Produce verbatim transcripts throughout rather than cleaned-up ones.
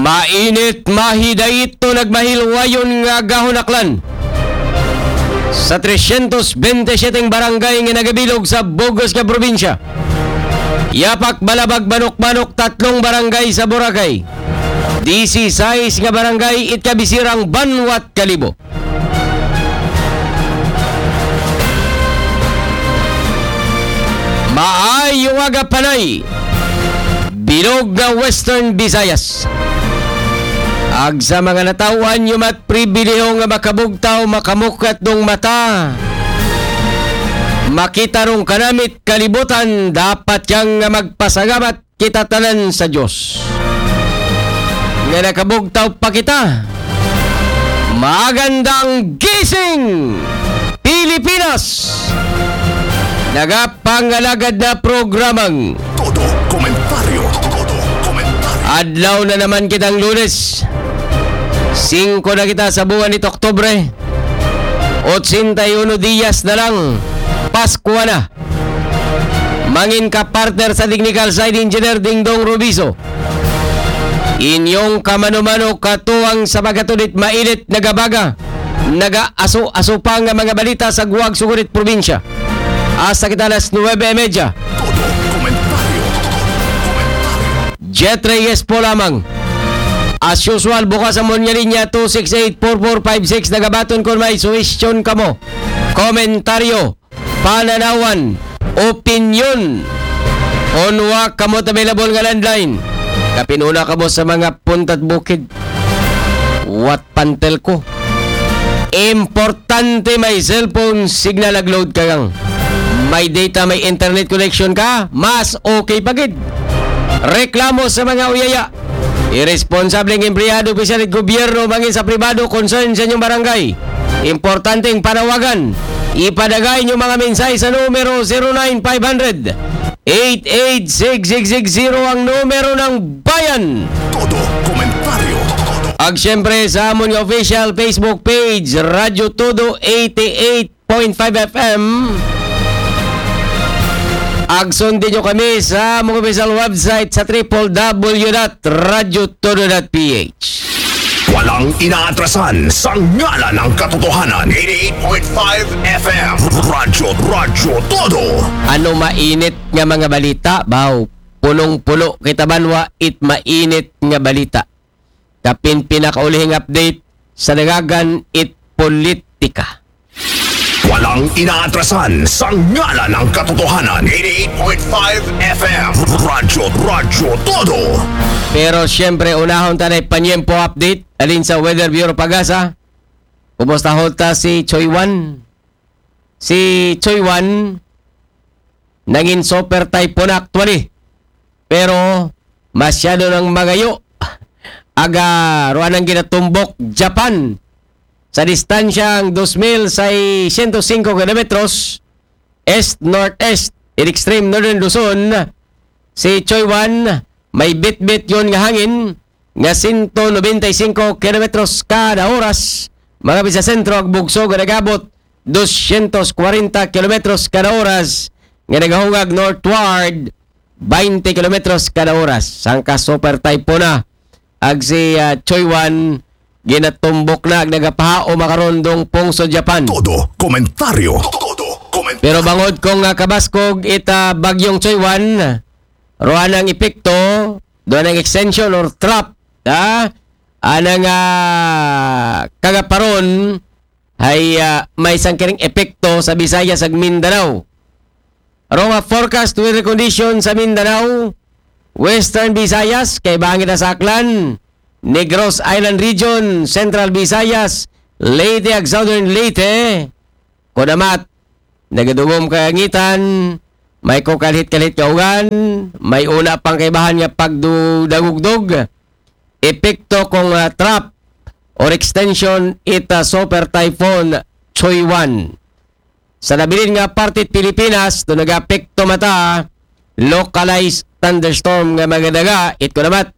Painit, mahidait to nagmahilwayon nga gahunaklan sa tresyentos bente siyete barangay nga nagabilog sa bug-os nga probinsya. Yapak, Balabag, Manok-Manok, tatlong barangay sa Boracay. Disisais nga barangay it kabisirang banwat Kalibo. Maayong aga, Panay, bilog nga Western Visayas. Ag sa mga nataw-an, yuma't pribilehiyo nga makabugtaw, makamukat dong mata, makita rong kanamit kalibutan, dapat yang nga magpasalamat kita tanan sa Diyos nga nakabugtaw pa kita. Magandang gising, Pilipinas! Nagapangalagad na programang Todo Komentaryo. Todo Komentaryo. Adlaw na naman kitang Lunes. Singko na kita sa buwan nito Oktubre. Otsenta y uno diyas na lang. Pasko na. Mangin ka partner sa technical side, Engineer Dingdong Rubiso. Inyong kamano-mano katuwang sa pagkatudit, mainit, nagabaga, nagaaso-aso pa nga mga balita sa guwag sugurit probinsya. Hasta kita alas nuwebe y media. Todo komentaryo. Jet Reyes po lamang. As usual, bukas ang mga linya two six eight four four five six. Nagabaton kung may suwestyon kamo, komentaryo, pananawan, opinyon. Unwa kamo available nga landline. Kapinuna kamo sa mga punta't bukid. What pantel ko? Importante may cellphone signal ag load ka lang. May data, may internet connection ka, mas okay pa gid. Reklamo sa mga uyaya. Irresponsableng empleyado, opisyal sa gobyerno, mangin sa pribado, concern sa inyong barangay. Importanteng panawagan. Ipadagay inyong mga mensahe sa numero zero nine five hundred eight eight six six six zero, ang numero ng bayan. Todo komentaryo. Ag siyempre sa amon nga official Facebook page, Radyo Todo eighty-eight point five F M. Ag sundin nyo kami sa among official website sa triple W dot radyo todo dot P H. Walang inaatrasan sa ngalan ng katotohanan. Eighty-eight point five F M. Radyo, Radyo Todo. Ano mainit nga mga balita, baw? Punong-puno kita banwa it mainit nga balita. Kapin pinakaulihing update sa daghan it politika. Walang inaatrasan sa ngalan ng katotohanan. Eighty-eight point five F M. Radyo, Radyo Todo. Pero siyempre, unahon ta na panyempo update. Alin sa Weather Bureau Pagasa? Kumusta hota si Choy Wan? Si Choy Wan, nangin super typhoon actually. Pero masyado nang magayo. Aga, ruan ang ginatumbok Japan sa distansyang dos mil seiscientos cinco kilometros east-northeast in extreme northern Luzon. Si Choy Wan, may bitbit yon nga hangin nga sento nobenta y singko kilometros kada oras, mga bisa sentro ag bugso nga nagabot dosyentos kwarenta kilometros kada oras, nga nagahungag northward baynte kilometros kada oras. Sangka super typhoon na ag si, ah, Choy Wan, ginatumbok na ag nagapahao makarondong pungso Japan. Todo komentaryo. Todo komentaryo. Pero bangod kung, ah, kabaskog ita bagyong Choy Wan, ruan ang epekto, doon ang extension or trap, ha? Anang, ah, kagaparon, ay, ah, may sangkiring epekto sa Visayas ag Mindanao. Roma forecast weather condition sa Mindanao, Western Visayas, kay bangin na sa Aklan, Negros Island Region, Central Visayas, Leyte ag Southern Leyte, kunamat, nagadugom kalangitan, may kukalhit-kalhit nga ugan, may una pang kaibahan nga pagdudagugdog, epekto kung, ah, trap or extension ita super typhoon Choy Wan. Sa nabilin nga parte Pilipinas, do nagapekto mata, localized thunderstorm nga magadaga, it kunamat,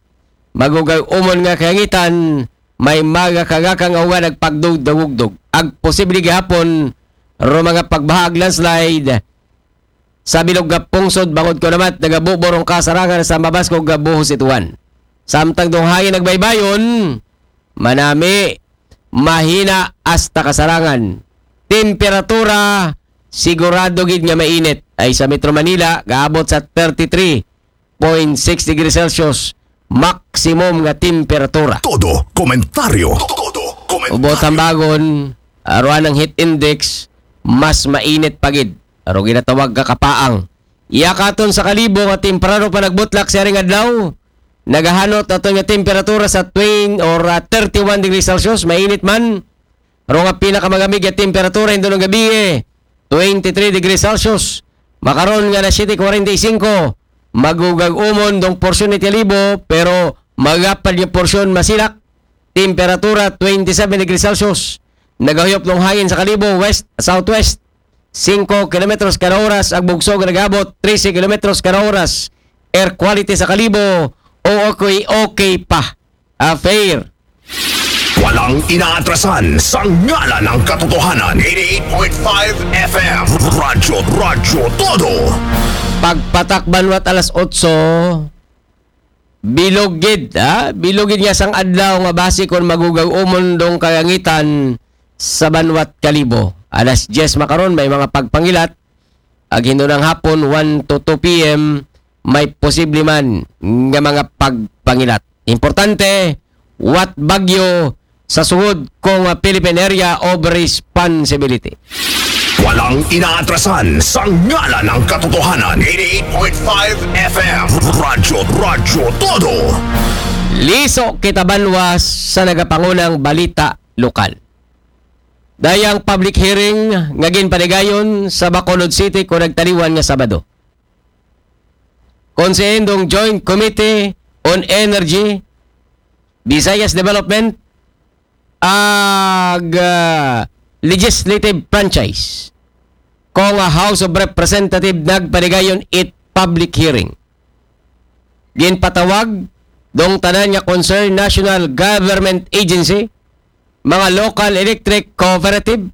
magugay umon nga kalangitan, may magakagakang ugan ag pagdugdagugdog. Ag posible gihapon, ro mga pagbaha ag landslide, sa bilog nga pungsod bangod kunamat nagabuborong kasarangan sa mabaskog nga buhos ituan. Samtang dong hangin nagbaybayon, manami, mahina hasta kasarangan. Temperatura, sigurado gid nga mainit. Ay sa Metro Manila, gaabot sa thirty-three point six degrees Celsius, maximum nga temperatura. Todo komentaryo. Todo komentaryo. Ubot hambagon, aruan ang heat index, mas mainit pa gid. Aro ginatawag ka kapaang. Iya katon sa Kalibo nga temprano pa nagbutlak sa ring adlaw. Nagahanot aton nga temperatura sa twenty or ah, thirty-one degrees Celsius, mainit man. Aro nga pinakamagamig nga temperatura indo ng gabi, twenty-three degrees Celsius. Makaron nga na siyete kwarenta y singko, magugag umon dong porsyon ni Kalibo, pero magapad nga porsyon masilak. Temperatura twenty-seven degrees Celsius. Nagahuyop ng hangin sa Kalibo, west, southwest. Singko kilometros kada oras, ang bugso nga nagabot, trese kilometros kada oras. Air quality sa Kalibo, o okay, okay pa. Ah, fair. Walang inaatrasan sa ngalan ng katotohanan. Eighty-eight point five F M. Radyo, Radyo Todo. Pagpatak banwat alas otso, bilog gid, ha? Bilog gid nga sang adlaw nga base kon magugag umon dong kalangitan sa banwat Kalibo. Alas diyes makaron, may mga pagpangilat. Ag hindo ng hapon, one to two P M, may posible man nga mga pagpangilat. Importante, wat bagyo sa sugod kong Philippine Area of Responsibility. Walang inaatrasan sa ngalan ng katotohanan. Eighty-eight point five F M. Radyo, Radyo Todo. Liso kita banwa sa nagapangunang balita lokal. Dayang public hearing nga ginpanigayon sa Bacolod City ko nagtaliwan nga Sabado. Konsehendong Joint Committee on Energy, Visayas Development, ag ah, Legislative Franchise, ko nga House of Representative nagpanigayon it public hearing. Ginpatawag dong tanan nga concern national government agency, mga local electric cooperative,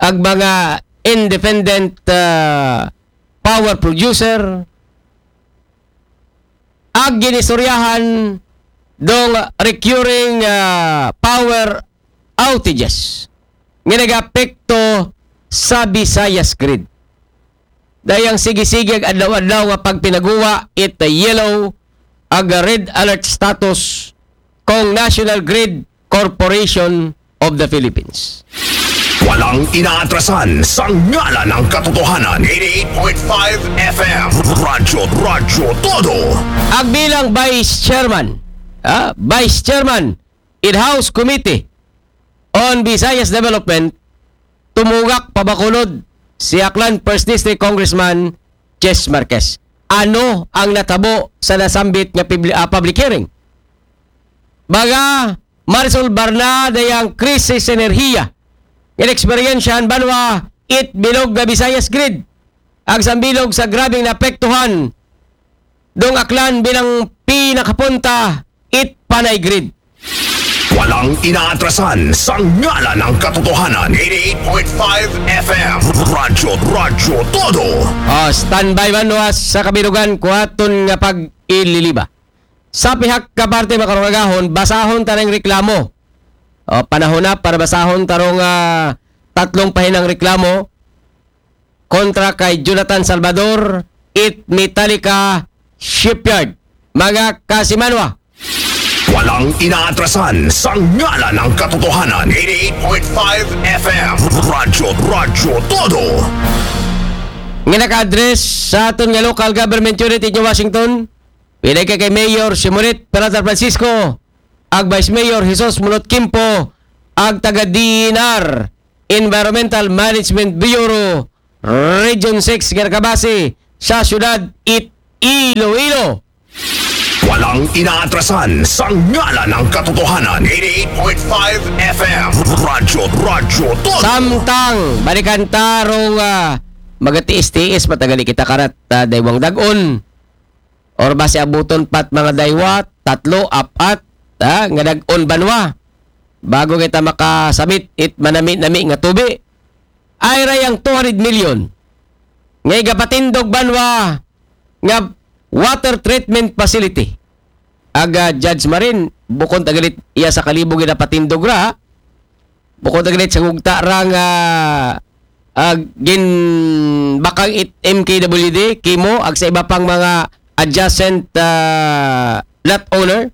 ag mga independent ah, power producer, ag ginistoryahan dong recurring ah, power outages nga nagapekto sa Visayas grid. Dayang sige-sige ag adlaw-adlaw nga pagpinaguwa it yellow ag red alert status kong National Grid Corporation of the Philippines. Walang inaatrasan sa ngalan ng katotohanan. Eighty-eight point five F M. Radyo, Radyo Todo. Ag bilang Vice Chairman, ah, Vice Chairman in House Committee on Visayas Development, tumugak pa Bacolod si Aklan First District Congressman Chess Marquez. Ano ang natabo sa nasambit nga pibli- ah, public hearing? Baga, maresolbar na dayang krisis sa enerhiya nga eksperyensyahan banwa it bilog nga Visayas grid. Ag sambilog sa grabing naapektuhan dong Aklan bilang pinakapunta it panay grid. Walang inaatrasan sa ngalan ng katotohanan. Eighty-eight point five F M. Radyo, Radyo Todo. Ah, standby man was sa kabirugan kuhaton nga pag-ililiba. Sa pihak ka parte, makarong agahon, basahon ta ring reklamo. O, panahon na para basahon tarong ah, tatlong pahinang reklamo kontra kay Jonathan Salvador, it Metallica Shipyard. Mga kasimanwa, walang inaatrasan sa ngalan ng katotohanan. Eighty-eight point five F M. Radyo, Radyo Todo. Nga naka-address sa aton nga local government unit in Washington, pinay kay Mayor Simonet Peralta Francisco, ag Vice Mayor Jesus Mulot Kimpo, ag taga D N R, Environmental Management Bureau, Region six, nga nakabase sa siyudad it Iloilo. Walang inaatrasan sa ngalan ng katotohanan. Eighty-eight point five F M. Radyo, Radyo Todo. Samtang, balikan tarong uh, magatiis-tiis, matagali kita karat uh, daywang dagon. Or basi abuton pat mga daywa, tatlo, apat, ha, nga nag-on banwa. Bago kita makasabit it manami-nami nga tubi. Ay rayang two hundred million. Nga igapatindog banwa nga water treatment facility. aga Judge Marin, bukod agalit iya sa Kalibo ginapatindog ra, bukod agalit sa gugta ra nga, ah, ginbakang it M K W D, Kimo, ag sa iba pang mga adjacent, ah, lot owner,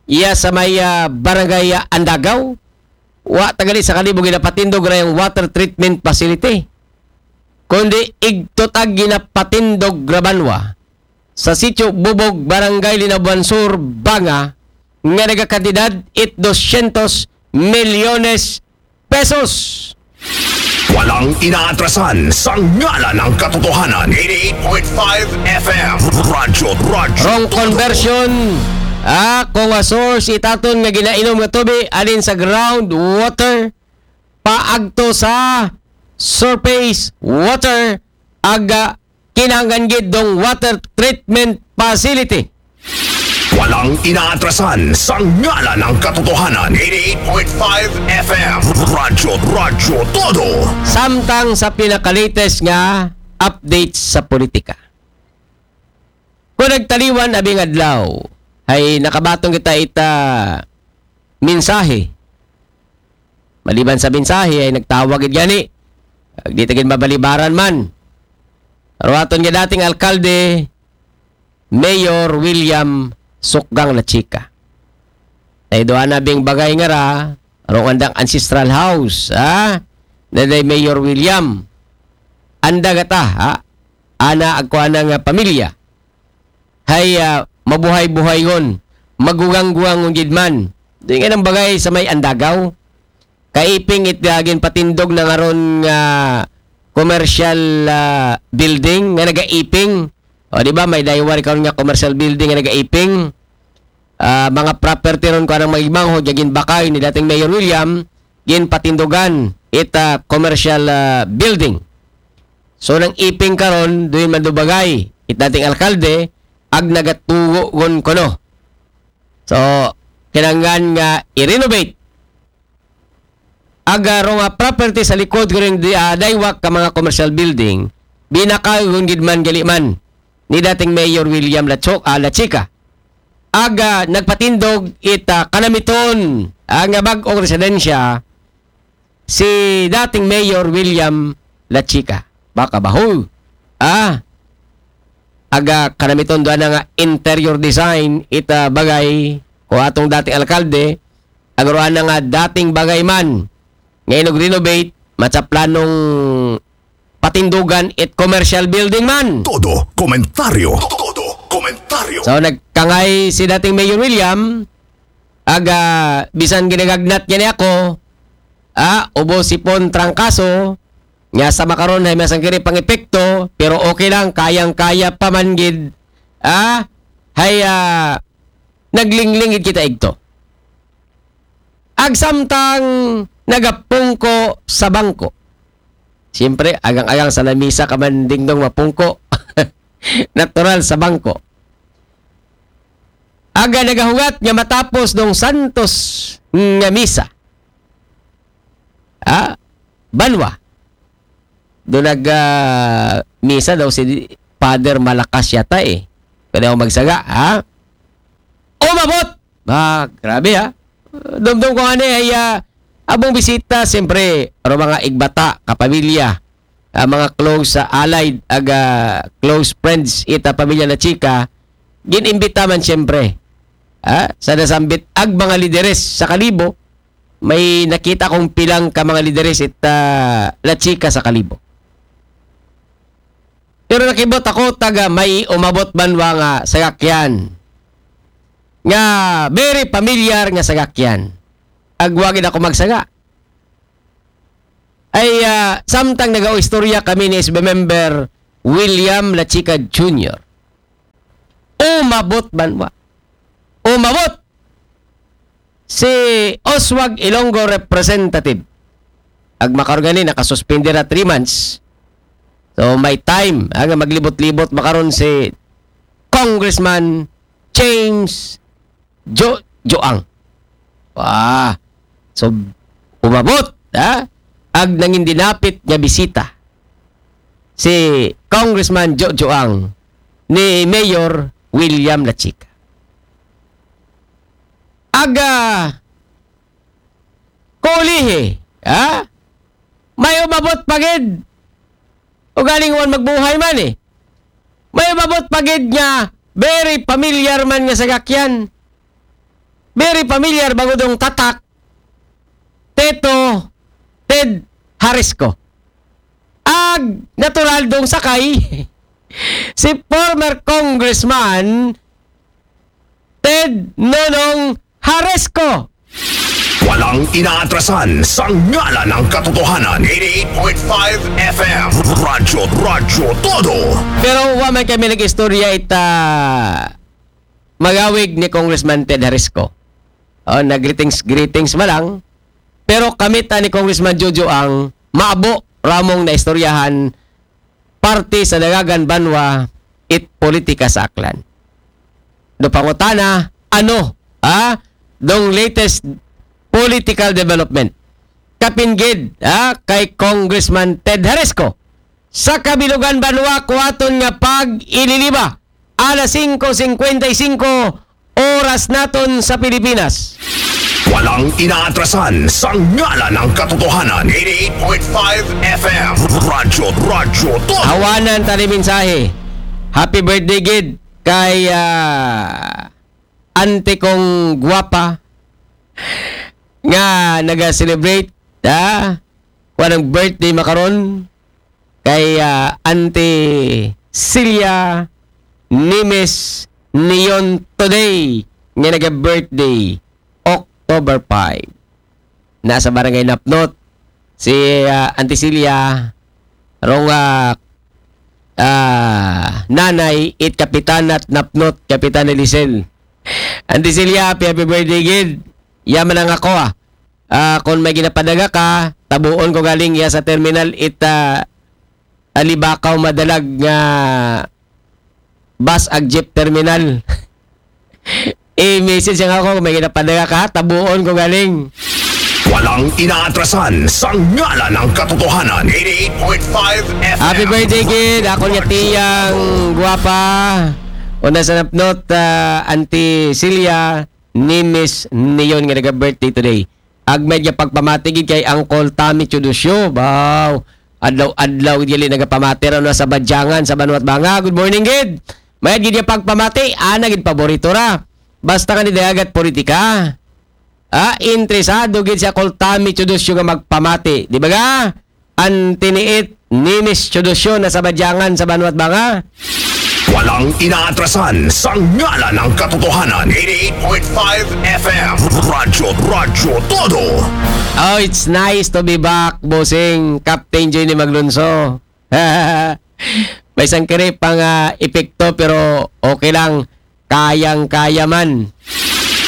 iya sa may, ah, barangay, ah, Andagaw, wa tagalit sa Kalibo ginapatindog ra yung water treatment facility, kundi igtutag ginapatindog ra banwa sa Sitio Bubog, Barangay Linabuan Sur, Banga, nga nagakantidad it dosyentos milyones pesos. Walang inaatrasan sa ngalan ng katotohanan. Eighty-eight point five F M. Radyo, Radyo. Wrong conversion. Ah, kung a source itaton nga ginainom nga tubig alin sa groundwater paagto sa surface water, aga kinahanglan gid dong water treatment facility. Walang inaatrasan sa ngalan ng katotohanan. Eighty-eight point five F M. Radyo, Radyo Todo. Samtang sa pinakalatest nga update sa politika. Kung nagtaliwan abing adlaw, ay nakabaton kita ita mensahe. Maliban sa mensahe, ay nagtawag gid gani. Ag di ta gid mabalibaran man. Ruaton nga dating alkalde, Mayor William Sukgang La Chica. Ay doon na bing bagay nga ra, rong andang ancestral house, ha? Na day Mayor William. Anda gata, ha? Ana agko ana nga pamilya. Hay, ah, mabuhay-buhaygon, magugang-guwangon gid man. Di nga nang bagay sa may Andagaw. Kaiping it, ah, ginpatindog na nga ron nga commercial, ah, building nga nagaiping. O, di ba, may daywa ri karon nga commercial building nga nagaiping. Ah, mga property ron ko anang magimanghod nga ginbakay ni dating Mayor William, ginpatindogan it, ah, commercial, ah, building. So, nang iping karon, duin man dubagay it dating alkalde, ag nagatugo gon kono. So, kinanglan nga i-renovate. Aga ro nga property sa likod ko rin di, ah, daywak ka mga commercial building, binakal gon gid man gali man ni dating Mayor William Lacho-, ah, Lachica. Aga nagpatindog it, ah, kanamiton, ah, nga bag-ong residensya si dating Mayor William Lachica. Baka baho. Ah, aga kanamiton doon na nga interior design ita bagay ko atong dating alkalde, agaruan na nga dating bagay man nga inog renovate, matsa planong patindugan it commercial building man. Todo komentaryo. Todo komentaryo. So, nagkangay si dating Mayor William, aga, bisan ginagagnat niya ni ako, ah, ubo sipon trangkaso, nga sa makaron ay masang kini pang epekto, pero okay lang, kayang-kaya pa man gid, ah, hay, ah, naglingling gid kita igto. Agsamtang nagapungko sa bangko. Siyempre, agang-agang sa lamisa ka man dingdong mapungko. Natural sa bangko. Aga nagahugat nga matapos dong santos nga misa. Ah, banwa. Doon nag, ah, misa daw si Father Malakas yata eh. Pwede ako magsaga, ha? Umabot! Ba, grabe ha. Dumdum ko nga ni ay, ah, abong bisita, siyempre, ro mga igbata, kapamilya, ah, mga close, ah, allied, aga close friends, ita pamilya na chika, ginimbita man siyempre. Ha? Sa nasambit, ag mga lideres sa Kalibo, may nakita kong pilang ka mga lideres it, ah, La Chica sa Kalibo. Pero nakibot ako taga may umabot banwa nga sagakyan. Nga very familiar nga sagakyan. Agwagin ako magsaga. Ay, ah, samtang nagaistorya kami ni S B member William La Chica Junior. Umabot banwa. Umabot si Oswag Ilonggo representative. Ag makaron gani, nakasuspindi ra three months. So, may time, ah, nga maglibot-libot makaron si Congressman James Jo Joang. Wah. So, umabot, ha? Ag nangin dinapit nga bisita si Congressman Jo Joang ni Mayor William La Chica. aga kulihi, ha? May umabot pa gid. O galing wan magbuhay man eh. May umabot pa gid nga very familiar man nga sagakyan. Very familiar bangod dong tatak. Tito Ted Harisco. Ag natural dong sakay si former Congressman Ted Nonong Haresco. Walang inaatrasan sa ngalan ng katotohanan. eighty-eight point five F M. Radyo, Radyo Todo. Pero wa man kami nag-istorya ita magawig ni Congressman Ted Harisco. Oh, nag-greetings, greetings ma lang. Pero kamita ni Congressman Jojo ang maabo ramong naistoryahan parte sa Dagagan Banwa it politika sa Aklan. Do pangutana, ano, ha? Dong latest political development. Kapinggid, ha? Kay Congressman Ted Haresco. Sa kabilugan banwa, kuwaton nga pag-ililiba. Alas singko singkwenta y singko, oras naton sa Pilipinas. Walang inaatrasan sa ngalan ng katotohanan. eighty-eight point five F M. Radyo, Radyo Todo. Hawanan tani mensahe. Happy birthday gid kay ah, ante kong gwapa nga naga-celebrate, ha? Kuan ang birthday makaron kay ah, Auntie Celia Nimes Nion today nga naga-birthday, October five. Nasa Barangay Napnot si ah, Auntie Celia, rong ah, ah, nanay it Kapitan at Napnot, Kapitan Elisel. Auntie Celia, happy, happy birthday gid. Yaman ang ako ah. Ah, kung may ginapadaga ka, tabuon ko galing ya sa terminal it ah, Alibakaw madalag nga bus ag jeep terminal. I-message ang ako kung may ginapadaga ka, tabuon ko galing. Walang inaatrasan sa ngalan ng katotohanan. eighty-eight point five F M. Happy birthday gid, ako nga tiyang gwapa. Una sa Napnot, ah, Auntie Celia Nimes Nion nga naga-birthday today. Ag may nga pagpamati gid kay Uncle Tommy Chudusyo. Baw, adlaw-adlaw gid gali nagapamati raw na sa Badyangan sa Banwat Banga. Good morning gid. May gid nga pagpamati, ana gid paborito ra. Basta ka ni dayagat politika. Ah, interesado gid si Uncle Tommy Chudusyo nga magpamati. Di ba ga? Antiniit, Nimes Chudusyo na sa Badyangan sa Banwat Banga. Walang inaatrasan sa ngalan ng katotohanan. eighty-eight point five F M. Radyo, Radyo Todo. Oh, it's nice to be back, bossing. Captain Johnny Maglunso. May sangkiri pang ah, epekto pero okay lang. Kayang-kaya man.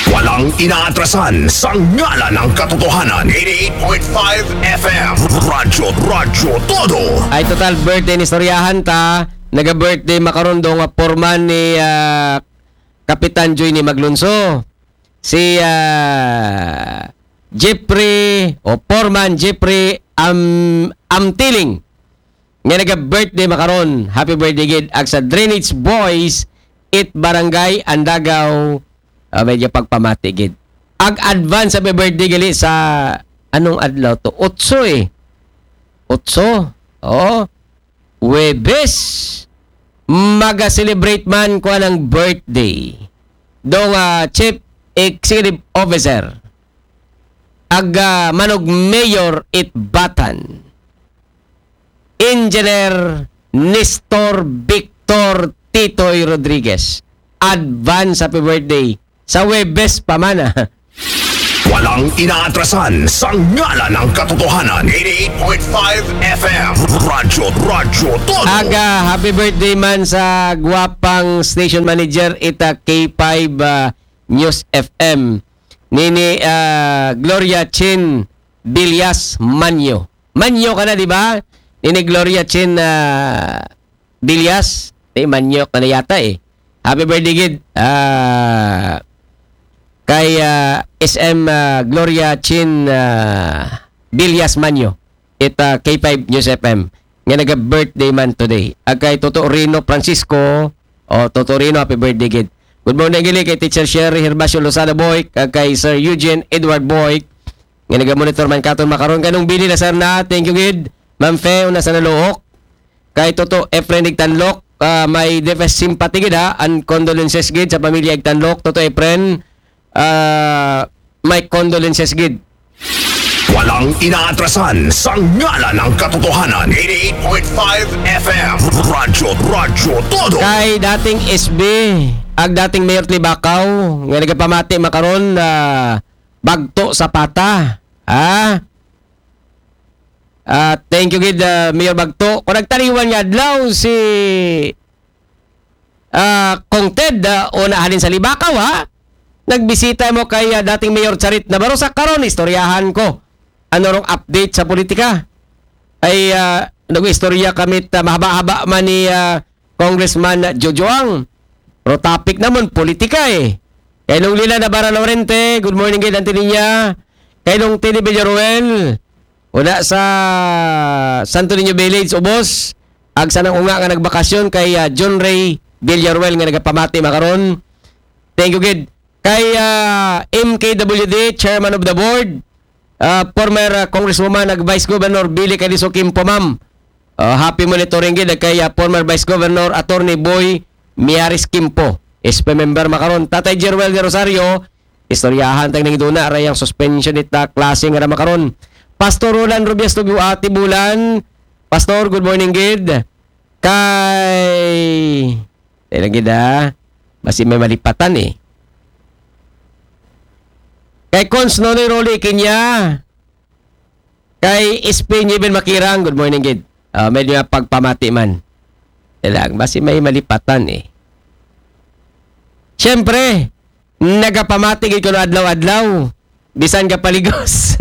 Walang inaatrasan sa ngalan ng katotohanan. eighty-eight point five F M. Radyo, Radyo Todo. Ay total birthday ni istoryahan ta. Naga-birthday makaron do nga porman ni ah, Kapitan Johnny Maglunso. Si ah, Jeffrey o porman Jeffrey Am Amtiling. Nga naga-birthday makaron. Happy birthday gid. Ag sa Drainage Boys it Barangay Andagaw, ah, may nga pagpamati gid. Ag advance happy birthday gali sa anong adlaw to? Otso eh. Otso. Oo. Webes. Maga-celebrate man ko anang birthday. Dong ah, Chief Executive Officer. Ag ah, manog Mayor it Batan. Engineer Nestor Victor Titoy Rodriguez. Advance happy birthday. Sa Webes pa man ah. Walang inaatrasan sa ngalan ng katotohanan. eighty-eight point five F M. Radyo, Radyo Todo. Aga, happy birthday man sa gwapang station manager ita K five ah, News F M. Nini ah, Gloria Chin Villas Manyo. Manyo ka na, di ba? Nini Gloria Chin ah, Villas. Eh, Manyo ka na yata eh. Happy birthday gid. Ah, kay ah, S M ah, Gloria Chin ah, Villas Manyo. Ita K five News F M. Nga naga-birthday man today. Ag kay Toto Rino Francisco. O, Toto Rino, happy birthday gid. Good morning gid kay Teacher Sherry Herbacio Lozada Boyk, kag kay Sir Eugene Edward Boyk, nga naga-monitor man katon makaron. Kanong Billy Lacerna, thank you gid. Ma'am Fe, una sa Naluok. Kay Toto Efren Igtanlok, ah, may deepest sympathy gid ha, and condolences gid sa pamilya Igtanlok. Toto Efren, ah, may condolences gid. Walang inaatrasan sa ngalan ng katotohanan. Eighty-eight point five F M. Radyo, Radyo Todo. Kay dating S B, ag dating Mayor Libacao, nga nagapamati makaron na Bagto Zapata. Ah? Ah, thank you gid, ah, Mayor Bagto. Kung nagtaliwan nga adlaw si ah, Kong Ted, ah, una halin sa Libacao, ha? Nagbisita mo kay ah, dating Mayor Charit Navarro sa karon, istoryahan ko. Ano rong update sa politika? Ay, ah, nag-istorya kami ta mahaba-haba man ni ah, Congressman Jojoang. Pero topic naman, politika eh. Kay nung Lila Navarra Lorente, good morning gid, Auntie Ninya. Kay nung Tini Villaruel, una sa Santo Niño Village, ubos. Ag sanang unga nga nagbakasyon kay ah, John Ray Villaruel nga nagapamati makaron. Thank you gid. Kay ah, M K W D, Chairman of the Board, ah, former ah, Congresswoman ag Vice Governor Billy Cadizo Kimpo, ma'am. Ah, happy monitoring gid kay ah, former Vice Governor Attorney Boy Miaris Kimpo. S P member makaron. Tatay Jeruel de Rosario, istoryahan tang nang duna ra yang suspension ita klase nga ra makaron. Pastor Roland Rubias Tugu, Ate Bulan. Pastor, good morning gid. Kay, tayo lang gid ha. Basi may malipatan eh. Kay Cons Nonoy Rolly Kinya. Kay S P Niven Makirang, good morning gid. Ah, medyo pagpamati man. Tayo lang, basi may malipatan eh. Siyempre, nagapamati gid kuno adlaw-adlaw. Bisan ka paligos.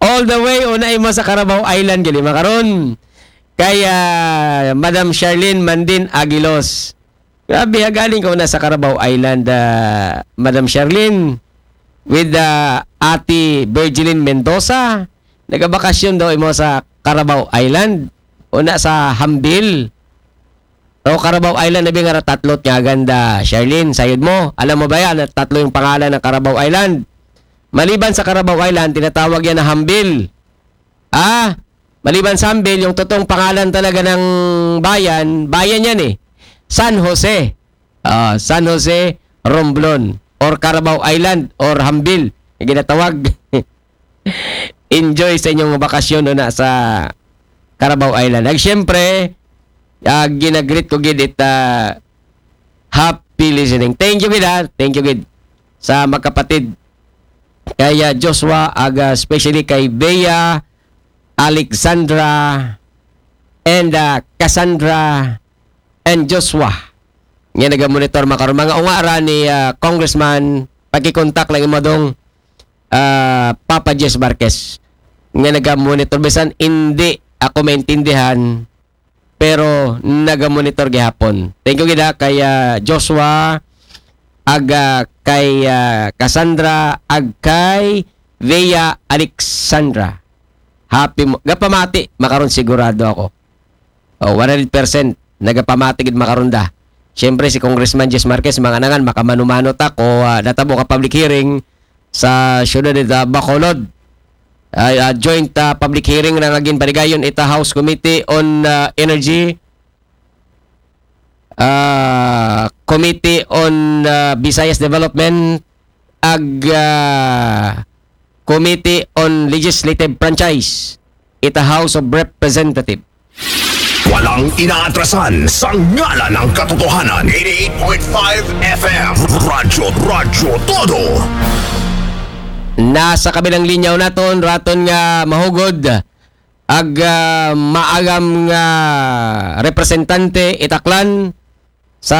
All the way, una imo sa Carabao Island, gid makaron. Kay ah, Madam Charlene Mandin Aguilos. Grabe, ha, galing ka una sa Carabao Island, ah, Madam Charlene. With ah, Ate Virgilin Mendoza. Nagabakasyon daw imo sa Carabao Island. Una sa Hambil. O Carabao Island, abi nga ra tatlo nga ganda, Charlene, sayod mo. Alam mo ba yan, na tatlo yung pangalan ng Carabao Island? Maliban sa Carabao Island, tinatawag yan na Hambil. Ah, maliban sa Hambil, yung totoong pangalan talaga ng bayan, bayan yan eh. San Jose. Ah, San Jose, Romblon. Or Carabao Island, or Hambil. Yung ginatawag. Enjoy sa inyong bakasyon una sa Carabao Island. Ag siyempre, ah, ginagreet ko gid it, ah, happy listening. Thank you gid ha. Thank you gid sa magkapatid. Kay ah, Joshua, aga especially kay Bea, Alexandra, and ah, Cassandra, and Joshua. Nga naga-monitor makaron. Mga unga ra ni ah, Congressman, pakikontak lang imo dong ah, Papa Jess Marquez. Nga naga-monitor. Bisan hindi ako maintindihan, pero naga-monitor gihapon. Thank you gid ha kay ah, Joshua, ag ah, kay ah, Cassandra, ag kay Vea Alexandra. Happy mo. Gapamati, makaron sigurado ako. Oh, one hundred percent. Nagapamati gid makaron da. Siyempre, si Congressman Jess Marquez, mga nangan, makamano-mano ta ko, ah, natabo ka public hearing sa siyudad ita Bacolod. Ay, ah, joint ah, public hearing na nga ginpanigayon ita House Committee on ah, Energy, ah, Committee on ah, Visayas Development, ag ah, Committee on Legislative Franchise, ita House of Representative. Walang inaatrasan sa ngalan ng katotohanan. Eighty-eight point five F M. Radyo, Radyo Todo. Nasa kabilang linya naton, raton nga mahugod, ag ah, maagam nga representante ita Aklan,